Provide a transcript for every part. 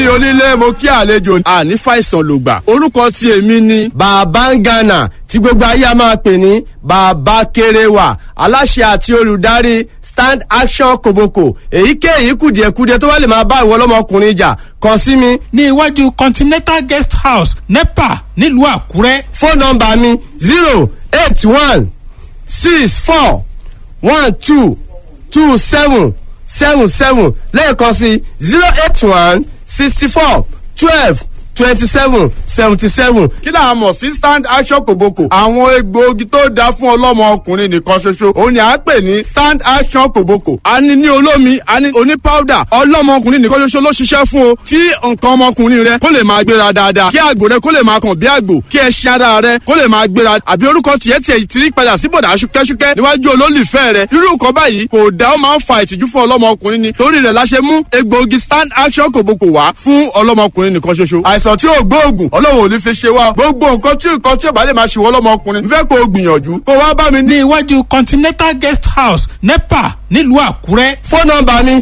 Onílé, mo kí àlejò. Àní fàìsàn lògbà. Orúkọ tí èmi ni Bàbá ń Ghana, tí gbogbo ayé a máa pè ní Bàbá Kéréwà, aláṣẹ àti olùdarí Stand Action Koboko. Èyíkéyìí kùdìẹ̀kudiẹ tó bá lè máa bá ìwọ ọlọ́mọkùnrin jà, kàn sí mi. Ní iwájú Continental Guest House, NEPA, nílùú Àkúrẹ́. Fóònù nọ́mbà mi 08164122777, lẹ́ẹ̀kan sí 08164122777. Kí là á mọ̀ sí Stand Action Koboko? Àwọn egbòogi tó dáa fún ọlọ́mọ ọkùnrin nìkan ṣoṣo òun ni à ń pè ní Stand Action Koboko. A ní ní olómi, a ní oní powder. Ọlọ́mọ ọkùnrin nìkan ṣoṣo ló ṣiṣẹ́ fún o, tí nǹkan ọmọkùnrin rẹ kó lè máa gbéra dáadáa, kí àgbò rẹ kó lè máa kàn bí àgbò, kí ẹṣin ara rẹ kó lè máa gbéra, àbí orúkọ tiẹ̀ tiẹ̀ ti rí padà sí bọ̀dà ṣúkẹ́ṣúkẹ́ níwájú olólùfẹ́ rẹ. Irú nǹkan báyìí kò dá, ó máa ń fa ìtìjú fún ọlọ́mọkùnrin ni. Torí rẹ̀ la ṣe mú egbòogi Stand Action Koboko wá fún ọlọ́mọkùnrin nìkan ṣoṣo. Àìsàn tí ò gbóògùn, Ọlọ́run ò ní fi ṣe wá. Gbogbo nǹkan tí nǹkan tí ò bá lè máa ṣe wọ́n lọ́mọkùnrin, n fẹ́ kó o gbìyànjú kó wá bá mi ní. Ní iwájú Continental Guest House, NEPA, nílùú Àkúrẹ́. Fóònù nọ́mbà mi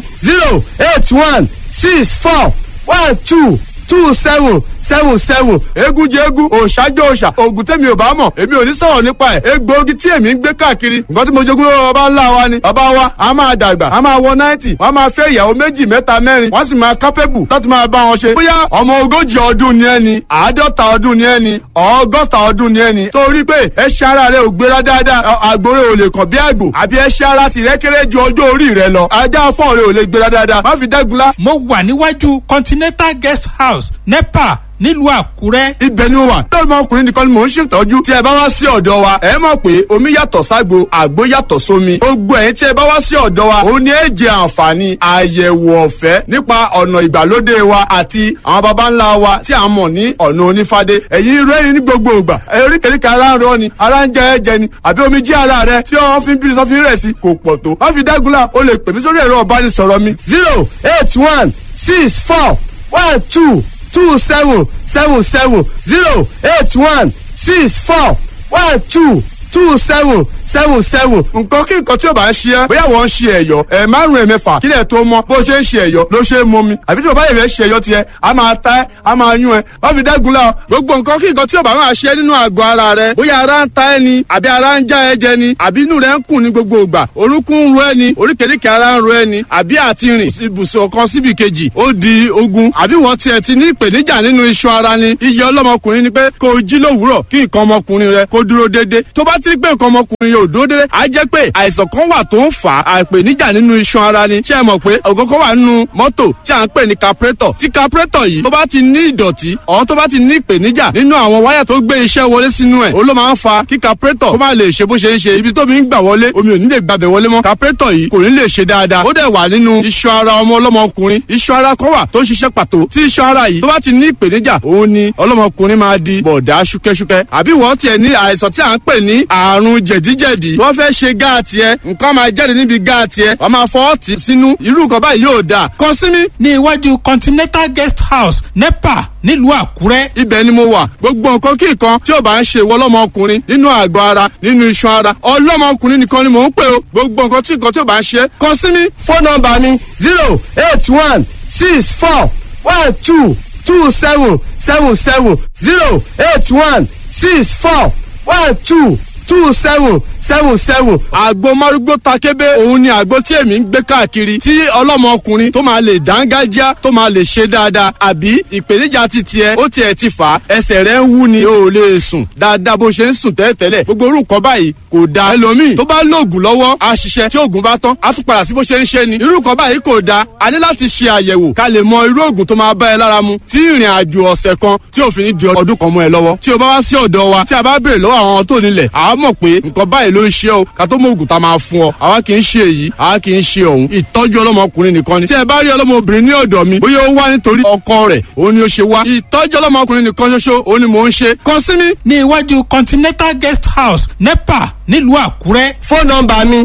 08164122777. Eégún jẹ eégún, òòṣà jẹ òòṣà. Oògùn tèmi ò bá mọ̀, èmi ò ní sọ̀rọ̀ nípa ẹ̀. Egbòogi tí èmi ń gbé káàkiri, nǹkan tí mo jogún lọ́wọ́ bàbá ńlá wa ni. Bàbá wa a máa dàgbà, a máa wọ 90, wọ́n máa fẹ́ ìyàwó méjì, mẹ́ta, mẹ́rin, wọ́n sì máa kápẹ́bù láti máa bá wọn ṣe. Bóyá ọmọ 40 ọdún ni ẹni, 50 ọdún ni ẹni, 60 ọdún ni ẹni, torí pé ẹṣin ara rẹ ò gbéra dáadáa, àgbòrè ò lè kàn bí àgbò, àbí ẹṣin ara tìrẹ kéré ju ọjọ́ orí rẹ lọ, ajá fọ́ọ̀rẹ́ ò lè gbéra dáadáa, má fi dẹ́gunlá. Mo wà níwájú Continental Guest House, NEPA, nílùú Àkúrẹ́. Ibẹ̀ ni mo wà. Lọ́mọ ọkùnrin nìkan ni mò ń ṣètọ́jú. Tí ẹ bá wá sí ọ̀dọ̀ wa, ẹ mọ̀ pé omi yàtọ̀ ságbo, àgbo yàtọ̀ sómi. Gbogbo ẹ̀yin tí ẹ bá wá sí ọ̀dọ̀ wa, òun ni ẹ jẹ àǹfààní àyẹ̀wò ọ̀fẹ́ nípa ọ̀nà ìgbàlódé wa àti àwọn baba ńlá wa tí a mọ̀ ní ọ̀nà onífádé. Ẹ̀yin rẹ́rìn ní gbogbo ìgbà. Oríkèéríkèé ara ń rọ ni, ara ń jẹ ẹ̀jẹ̀ ni, àbí omi jí ara rẹ tí wọ́n fi ń bí sọ́fin rẹ̀ sí kò pọ̀ tó. Má fi dágunlá, o lè pè mí sórí ẹ̀rọ ìbánisọ̀rọ̀ mi 08164122777, 08164122777. Nǹkan kí nǹkan tí ò bá ń ṣe ẹ́, bóyá wọ́n ń ṣe ẹ̀yọ́ ẹ̀ márùn-ún, ẹ̀mẹ́fà, kílẹ̀ tó mọ́, bó ṣe ń ṣe ẹ̀yọ́ ló ṣe é mọ́ mi, àbí tí bàbá yẹn fẹ́ ṣe ẹ̀yọ́ tiẹ̀, a máa ta ẹ́, a máa yún ẹ. Má fi dẹ́gun la. Gbogbo nǹkan kí nǹkan tí ò bá máa ṣe nínú àgọ́ ara rẹ, bóyá ara ń ta ẹ́ ni, àbí ara ń já ẹ jẹ ni, àbí inú rẹ ń kùn ní gbogbo ìgbà, orúnkún ń ro ẹ ni, oríkèéríkèé ara ń ro ẹ ni, àbí àti rìn ibùsùn kan síbi kejì ó di ogun, àbí wọ́n tiẹ̀ ti ní ìpèníjà nínú iṣan ara ni. Iye ọlọ́mọkùnrin ni pé kó o jí lówùúrọ̀ kí nǹkan ọmọkùnrin rẹ kó dúró déédéé. Tó bá ti rí pé nǹkan ọmọkùnrin yóò dúró déédéé, á jẹ́ pé àìsàn kan wà tó ń fà á, àìpèníjà nínú iṣan ara ni. Ṣé ẹ mọ̀ pé ògógó wà nínú mọ́tò tí à ń pè ní carburetor? Tí carburetor yìí tó bá ti ní ìdọ̀tí ọ̀, tó bá ti ní ìpèníjà nínú àwọn wáyà tó gbé iṣẹ́ wọlé sínú ẹ̀, ó ló máa ń fa kí carburetor kó má lè ṣe bó ṣe ń ṣe. Ibi tó mi ń gbà wọlé, omi ò ní lè gbàbẹ̀ wọlé mọ́, carburetor yìí kò ní lè ṣe dáadáa. Ó dẹ̀ wà nínú iṣan ara ọmọ ọlọ́mọkùnrin, iṣan ara kan wà tó ń ṣiṣẹ́ pàtó. Tí iṣan ara yìí tó bá ti ní ìpèníjà, òun ni ọlọ́mọkùnrin máa di bọ̀dá ṣúkẹ́ṣúkẹ́. Àbí wọ́n tiẹ̀ ní àìsàn tí à ń pè ní àrùn jẹ̀díjẹ̀dí, wọ́n fẹ́ ṣe gáàtì ẹ, nǹkan máa jáde níbi gáàtì ẹ, wọ́n máa fọwọ́ tì sínú. Irú nǹkan báyìí yóò dáa, kàn sí mi. Ní iwájú Continental Guest House, NEPA, nílùú Àkúrẹ́. Ibẹ̀ ni mo wà. Gbogbo nǹkan kí nǹkan tí ò bá ń ṣe ìwọ ọlọ́mọkùnrin nínú àgọ́ ara, nínú iṣan ara, ọlọ́mọkùnrin nìkan ni mò ń pè o. Gbogbo nǹkan tí nǹkan tí ò bá ń ṣe, kàn sí mi. Fóònù nọ́mbà mi 08164122777, 08164122777. Àgbo márúgbó takébé, òun ni àgbo tí èmi ń gbé káàkiri, tí ọlọ́mọkùnrin tó máa lè dángájá, tó máa lè ṣe dáadáa. Àbí ìpèníjà ti tiẹ̀, ó tiẹ̀ ti fà á, ẹsẹ̀ rẹ̀ ń wú ni, o ò lè sùn dáadáa bó ṣe ń sùn tẹ́lẹ̀tẹ́lẹ̀. Gbogbo orú nǹkan báyìí kò dáa. Ẹlòmíì tó bá lóògùn lọ́wọ́ á ṣiṣẹ́, tí oògùn bá tán á tún padà sí bó ṣe ń ṣe ni. Irú nǹkan báyìí kò dáa. A ní láti ṣe àyẹ̀wò ká lè mọ irú oògùn tó máa bá ẹ lára mu, tí ìrìn àjò ọ̀sẹ̀ kan tí òfin ní di ọdún kan mọ́ ẹ lọ́wọ́. Tí o bá wá sí ọ̀dọ̀ wa, tí a bá béèrè lọ́wọ́ àwọn tó nílẹ̀, àá mọ̀ pé nǹkan báyìí ló ń ṣe o, ká tó mọ òògùn tá a máa fún ọ. Àwa kì í ṣe èyí, àwa kì í ṣe òun. Ìtọ́jú ọlọ́mọkùnrin nìkan ni. Tí ẹ bá rí ọlọ́mọbìnrin ní ọ̀dọ̀ mi, bóyá ó wá nítorí ọkọ rẹ̀ òun ni ó ṣe wá, ìtọ́jú ọlọ́mọkùnrin nìkan ṣoṣo òun ni mò ń ṣe. Kàn sí mi. Ní iwájú Continental Guest House, NEPA, nílùú Àkúrẹ́. Fóònù nọ́mbà mi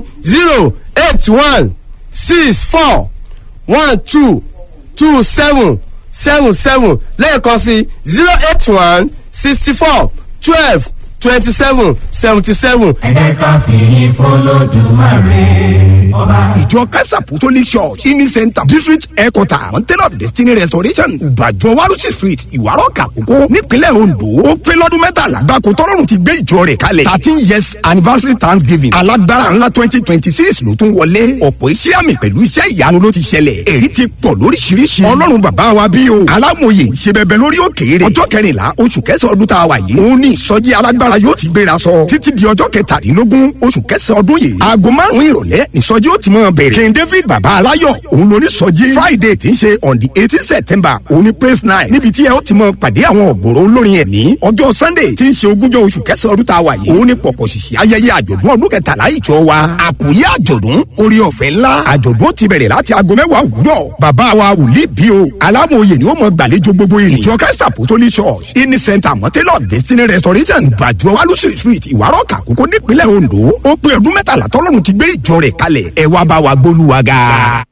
08164122777, lẹ́ẹ̀kan sí 0816412 27 77. Ẹ jẹ́ ká fìyìn f'Olódùmarè ọba. Ìjọ Christ Apostolic Church ini Center District Headquarter Mountain of Destiny Restoration, Ìbàjọ́, Warusi Street, Ìwárọ̀kà Kókó, nípínlẹ̀ Ondo, ó pé lọ́dún 13 gbáko tọ́lọ́run ti gbé ìjọ rẹ̀ kalẹ̀. 13 years anniversary thanksgiving alágbára ńlá 2026 ló tún wọlé. Ọ̀pọ̀ iṣẹ́ àmì pẹ̀lú iṣẹ́ ìyanu ló ti ṣẹlẹ̀. Èyí ti pọ̀ lóríṣiríṣi. Ọlọ́run bàbá wa bí o alámòye ṣe bẹbẹ lórí òkèèrè. Ọjọ́ 14 oṣù kẹsàn-án ọdún tá a wà yìí, òun ní ìsọjí alágbára yóò ti gbéra sọ títí di ọjọ́ 17 oṣù kẹsàn-án ọdún yìí. Aago 5 ìrọ̀lẹ́ ìsọjí ó ti mọ̀ bẹ̀rẹ̀. King David bàbá aláyọ̀ òun ló ní sọjí. Friday tí ń ṣe on the 18 September, òun ní praise night, níbi tí ẹ ó ti mọ pàdé àwọn ọ̀gọ̀rọ̀ olórin ẹ̀mí. Ọjọ́ Sunday tí ń ṣe 20 oṣù kẹsàn-án ọdún tá a wà yìí, òun ní pọ̀pọ̀ ṣìṣì ayẹyẹ àjọ̀dún ọdún 13 ìjọ wa. Àkòrí àjọ̀dún, orí ọ̀fẹ́ ńlá. Àjọ̀dún ti bẹ̀rẹ̀ láti aago 10 òwúrọ̀. Bàbá wa wòlíì bí o alámòye ni ó mọ gbàlejò gbogbo ìrìn. Ìjọ Christ Apostolic Church ini Center, Mountain of Destiny Restoration, Gbàjọ, Wálùsì Street, Ìwárọ̀kà Kókó, nípínlẹ̀ Ondo, ó pé ọdún 13 tọ́lọ́run ti gbé ìjọ rẹ̀ kalẹ̀. Ẹ wá bá wa gbólúwa ga.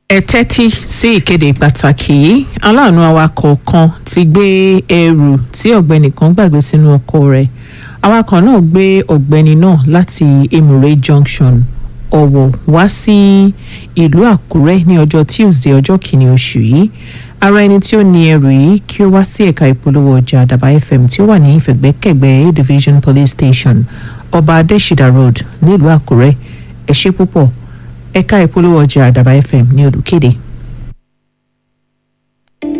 Ẹ tẹ́tí sí ìkéde pàtàkì yìí. Aláàánú awakọ̀ kan ti gbé ẹrù tí ọ̀gbẹ́ni kan gbàgbé sínú ọkọ̀ rẹ̀. Awakọ̀ náà gbé ọ̀gbẹ́ni náà láti Emure Junction, Ọ̀wọ̀, wá sí ìlú Àkúrẹ́ ní ọjọ́ Tuesday, ọjọ́ 1 oṣù yìí. Ara ẹni tí ó ní ẹrù yìí kí ó wá sí ẹ̀ka ìpolówó ọjà Àdàbà FM tí ó wà ní ìfẹ̀gbẹ́kẹ̀gbẹ́ A Division Police Station, Ọba Adésìdà Road, nílùú Àkúrẹ́. Ẹ ṣé púpọ̀. Ẹ̀ka ìpolówó ọjà Àdàbà FM ní olùkéde.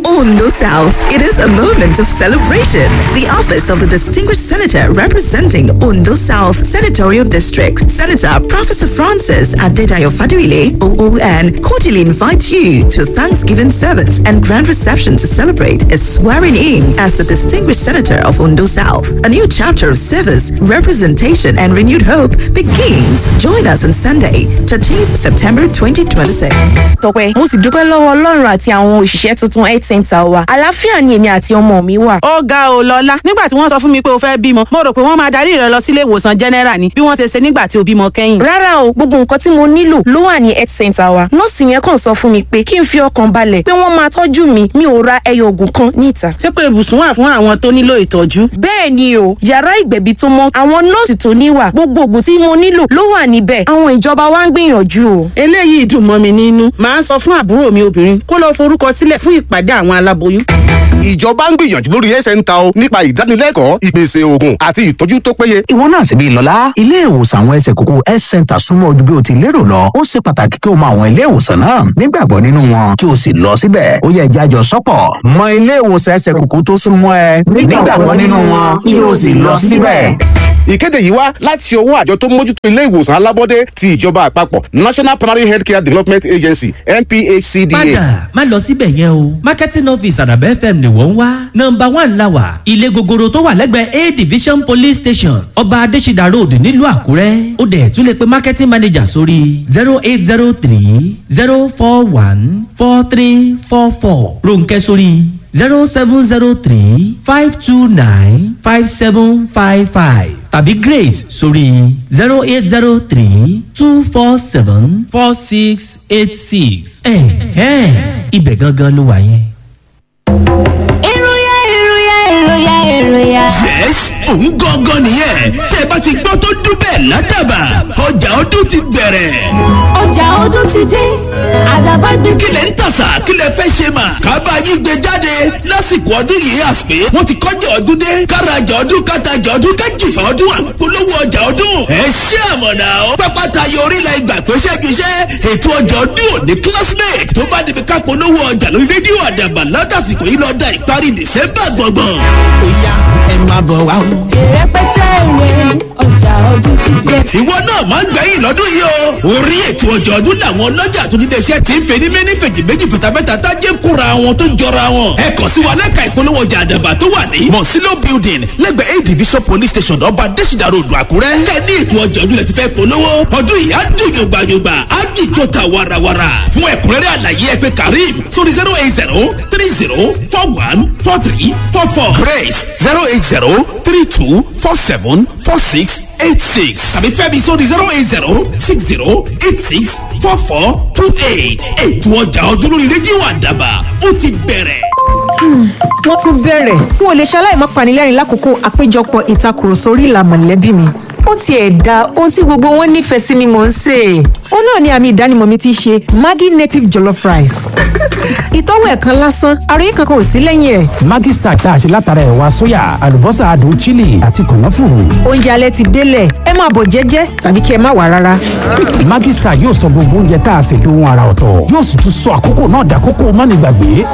Ondo South. It is a moment of celebration. The office of the distinguished senator representing Ondo South Senatorial District, Senator Professor Francis Adedayo Faduile, OON, cordially invites you to Thanksgiving service and grand reception to celebrate his swearing in as the distinguished senator of Ondo South. A new chapter of service, representation, and renewed hope begins. Join us on Sunday, 13th September 2026. Tọpẹ́, mo sì dúpẹ́ lọ́wọ́ Ọlọ́run àti àwọn òṣìṣẹ́ tuntun health center wa. Àlàáfíà ni èmi àti ọmọ mi wà. Ó ga ò lọ́lá. Nígbà tí wọ́n sọ fún mi pé o fẹ́ bímọ, mo rò pé wọ́n máa darí rẹ lọ sílé ìwòsàn general ni, bí wọ́n ṣe ṣe nígbà tí o bímọ kẹ́yìn. Rárá o, gbogbo nǹkan tí mo nílò ló wà ní health center wa. Nọ́ọ̀sì yẹn kàn sọ fún mi pé kí n fi ọkàn balẹ̀, pé wọ́n máa tọ́jú mi. Mi ò ra ẹyọ oògùn kan ní ìta. Ṣé pé ibùsùn wà fún àwọn tó nílò ìtọ́jú? Bẹ́ẹ̀ ni o, yàrá ìgbẹ̀bí tó mọ́, àwọn nọ́ọ̀sì tó níwà, gbogbo oògùn tí mo nílò ló wà níbẹ̀. Àwọn ìjọba wa ń gbìyànjú o. Eléyìí dùn mọ́ mi nínú. Màá sọ fún àbúrò mi obìnrin kó lọ forúkọ sílẹ̀ fún ìpàdé àwọn aláboyún. Ìjọba ń gbìyànjú lórí ẹsẹ̀ ń ta o nípa ìdánilẹ́kọ̀ọ́, ìpèsè oògùn àti ìtọ́jú tó péye. Ìwọ náà sì bí lọ́lá. Ilé ìwòsàn àwọn ẹsẹ̀ kókó health center súnmọ́ ojú bí o ti lérò lọ. Ó ṣe pàtàkì kí o mọ àwọn ilé ìwòsàn náà, nígbàgbọ́ nínú wọn, kí o sì lọ síbẹ̀. Ó yẹ jájọ sọ́pọ̀ mọ ilé ìwòsàn ẹsẹ̀ kókó tó súnmọ́ ẹ, nígbàgbọ́ nínú wọn, kí o sì lọ síbẹ̀. Ìkéde yìí wá láti ọwọ́ àjọ tó mójútó ilé ìwòsàn alábọ́dé ti ìjọba àpapọ̀, National Primary Healthcare Development Agency, NPHCDA. Padà má lọ síbẹ̀ yẹn o. Marketing office Àdàbà FM ni wọ́n ń wá. Nọmba 1 la wà, ilé gogoro tó wà lẹ́gbẹ̀ẹ́ A Division Police Station, Ọba Adésídà Road, nílùú Àkúrẹ́. Ó dẹ̀ tún lè pe marketing manager sórí 08030414344, Ronkẹ́ sórí 07035295755 tàbí Grace sórí 08032474686. Ẹ̀hẹ́n, ibẹ̀ gangan ló wà yẹn. Ìròyà, ìròyà, ìròyà, ìròyà. Yes, òun gangan nìyẹn. Tẹ́ ẹ bá ti gbọ́ tó dún bẹ́ẹ̀ ládàbà, ọjà ọdún ti bẹ̀rẹ̀. Ọjà ọdún ti dé, Àdàbà gbé. Kí lẹ̀ ń tàṣà? Kí lẹ̀ fẹ́ ṣe mà? Kábà yín gbé jáde lásìkò ọdún yìí. Àsìpé wọ́n ti kọjá ọdún dé. Kárajà ọdún, kátajà ọdún, kájìfà ọdún, àpolówó ọjà ọdún. Ẹ ṣé àmọ̀nà ó. Pápá tayọ orílẹ̀ ìgbà pé ṣẹ́giṣẹ́ ètò ọjà ọdún òní classmate tó bá débi ká polówó ọjà lórí rédíò Àdàbà látàsìkò yìí lọ́dà ìparí December gbọ̀ngbọ̀n. Ó yá, ẹ máa bọ̀ wá o. Ìrẹpẹtẹ ìwé, ọjà ọdún ti dé. Tiwọ náà máa ń gbẹ̀yìn lọ́dún yìí o. Orí ètò ọjọ́ ọdún làwọn ọlọ́jà tó nílé iṣẹ́ ti ń fẹ́ ní méní fèjì méjì fìtàfẹ́ta tájé ń kóra wọn tó ń jọra wọn. Ẹ kàn sí wa lẹ́ka ìpolówó ọjà Àdàbà tó wà ní Mọ̀sílò Building, lẹ́gbẹ̀ẹ́ A Division Police Station, Ọba Adésìdá Road, Àkúrẹ́. Kẹ́ ní ètò ọjọ́ ọdún lẹ ti fẹ́ polówó. Ọdún yìí á dùn yògbàyògbà, á jìjọ ta warawara. Fún ẹ̀kúnrẹ́rẹ́ àlàyé, ẹ pè Karim sórí 08030414344. Grace, 08032474686. Tàbí Fẹ́mi sórí 08060864428. Ètò ọjà ọdún lórí rédíò Àdàbà ó ti bẹ̀rẹ̀. Wọ́n tún bẹ̀rẹ̀. N ò lè ṣaláì má panilẹ́rìn lákòókò àpéjọpọ̀ ìtakùrọ̀sọ orí ìlà mọ̀lẹ́bí mi. Ó tiẹ̀ da ohun tí gbogbo wọn nífẹ̀ẹ́ sí ni mò ń sè é. Ó náà ni àmì ìdánimọ̀ mi ti ṣe Maggi native jollof rice. Ìtọ́wò ẹ̀kan lásán, àròyé kankan ò sí lẹ́yìn ẹ̀. Maggi Star tá a ṣe látara ẹ̀wà sóyà, àlùbọ́sà adùn chili àti kànáfùrù. Oúnjẹ alẹ́ ti délẹ̀, ẹ máa bọ̀ jẹ́jẹ́ tàbí kí ẹ má wà rárá. Maggi Star yóò sọ gbogbo oúnjẹ tá a ṣe dohun ara ọ̀tọ̀. Yóò sì tún sọ àkókò náà dàkókò mánigbàgbé.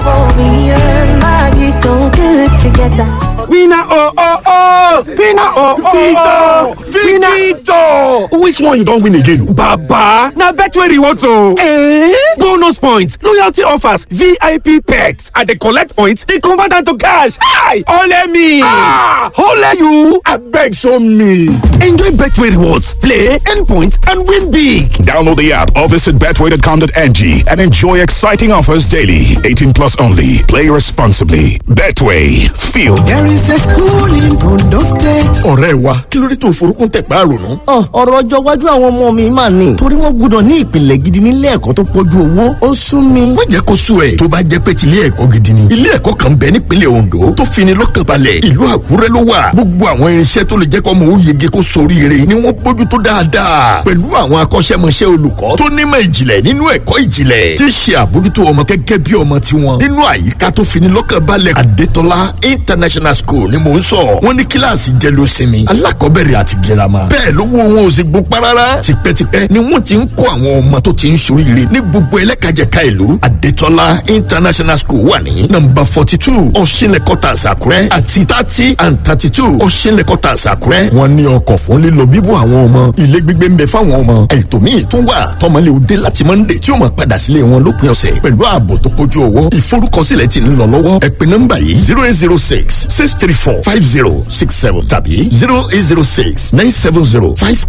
So good together. Winner oh oh oh! Winner oh oh oh! Victor! Which one you don win again? Baba! Na Betway rewards o! Eh? Bonus points, loyalty offers, VIP perks. I dey collect points, dey convert am to cash. Hi! Ole me! Ah! Ole you! Abeg show me! Enjoy Betway rewards, play, earn points and win big! Download the app or visit betway.com.ng and enjoy exciting offers daily. 18 plus only. Play responsibly. Betway. Feel. There is a school in Ondo State. Ọ̀rẹ́ wa, kí ló dé tó forúkún tẹ̀ pé àrònú? Ọ̀rọ̀ ọjọ́ iwájú àwọn ọmọ mi máa ní. Torí wọ́n gbọ́dọ̀ ní ìpìlẹ̀ gidi nílé ẹ̀kọ́ tó pọ̀jù owó. Ó sún mi. Má jẹ́ kó sú ẹ̀. Tó bá jẹ́ pé tilé ẹ̀kọ́ gidi ni. Ilé ẹ̀kọ́ kan bẹ nípínlẹ̀ Ondo tó fini lọ́kàn balẹ̀. Ìlú Àkúrẹ́ ló wà. Gbogbo àwọn irinṣẹ́ tó lè jẹ́ kọ́ mọ̀ ó yege kó soríire ni wọ́n bójú tó dáadáa. Pẹ̀lú àwọn akọ́ṣẹ́mọṣẹ́ olùkọ́ tó nímọ̀ ìjìnlẹ̀ nínú ẹ̀kọ́ ìjìnlẹ̀ tí ṣe àbójútó ọmọ gẹ́gẹ́ bí ọmọ tiwọn. Nínú àyíká tó fini lọ́kàn balẹ̀, Adétọ́lá International School ni mò ń sọ. Wọ́n ní kíláàsì jẹ́ ló sinmi, alákọ̀ọ́bẹ̀rẹ̀ àti girama. Bẹ́ẹ̀ ló wo wọn ò sì gbó pa rárá. Tipẹ́tipẹ́ ni wọ́n ti ń kó àwọn ọmọ tó ti ń soríire ní gbogbo ẹlẹ́kajẹ̀ka ìlú. Adétọ́lá International School wà ní nọ́mbà 42 Ọ̀ṣinlẹ̀ Quarters, Àkúrẹ́ àti 30 and 32 Ọ̀ṣinlẹ̀ Quarters, Àkúrẹ́. Wọ́n ní ọkọ̀ fún lílọ bíbọ̀ àwọn ọmọ, ilé gbígbé ń bẹ fáwọn ọmọ. Ètò míì tún wà tọmọlé òde láti Monday tí ó máa padà sílé wọn lópin ọ̀sẹ̀ pẹ̀lú ààbò tó kojú owó. Ìforúkọsílẹ̀ ti ń lọ lọ́wọ́. Ẹ pè nọ́mbà yìí: 08066345067 tàbí 0806970 5.